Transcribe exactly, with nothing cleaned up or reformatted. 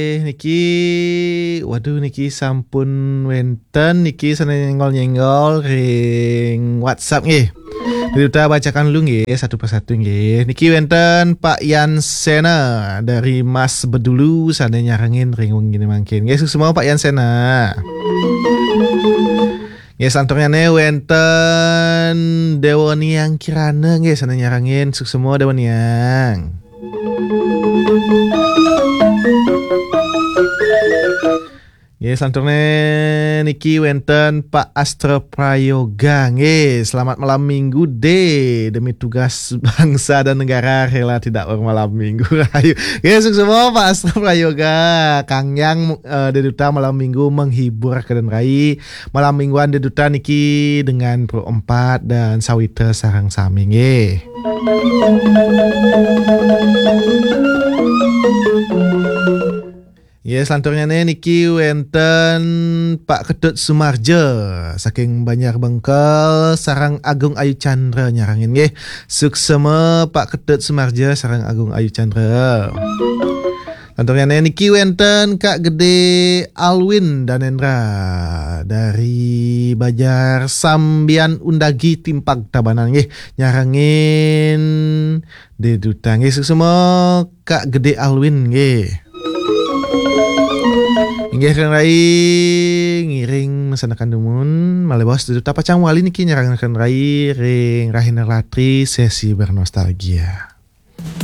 Eh, niki, waduh, niki sampun wenten niki sane nyenggol-nyenggol ring WhatsApp nggih. Duta bacakan dulu nggih, satu persatu nggih. Niki wenten Pak Yan Sena dari Mas Bedulu sane nyarengin ring wengi mangkin. Nggih, suksma Pak Yan Sena. Nggih, selanturnyane wenten Dewa Niang Kirana nggih sane nyarengin, suksma Dewa Niang. Nggih, selanturnya niki wenten Pak Astra Prayoga. Nggih, selamat malam minggu, De. Demi tugas bangsa dan negara rela tidak bermalam minggu. Rahayu. Nggih, suksma Pak Astra Prayoga. Kang Yang, eh, De Duta malam minggu menghibur keden rai. Malam mingguan De Duta niki dengan Pro Empat dan Sawitra sareng sami nggih. Nggih, selanturnyane niki wenten Pak Ketut Sumarja saking Banjar Bengkel sareng Agung Ayu Chandra nyarengin nggih. Suksma Pak Ketut Sumarja sareng Agung Ayu Chandra. Selanturnyane niki wenten Kak Gede Alwin Danendra dari Bajar Sambian Undagi Timpag Tabanan nggih, nyarengin De Duta nggih, suksma Kak Gede Alwin nggih. Inggih, Ren Rai ngiring masanekan dumun, malih baos De Duta pacang wali niki nyarengin Ren Rai ring Rahina Ratri sesi bernostalgia.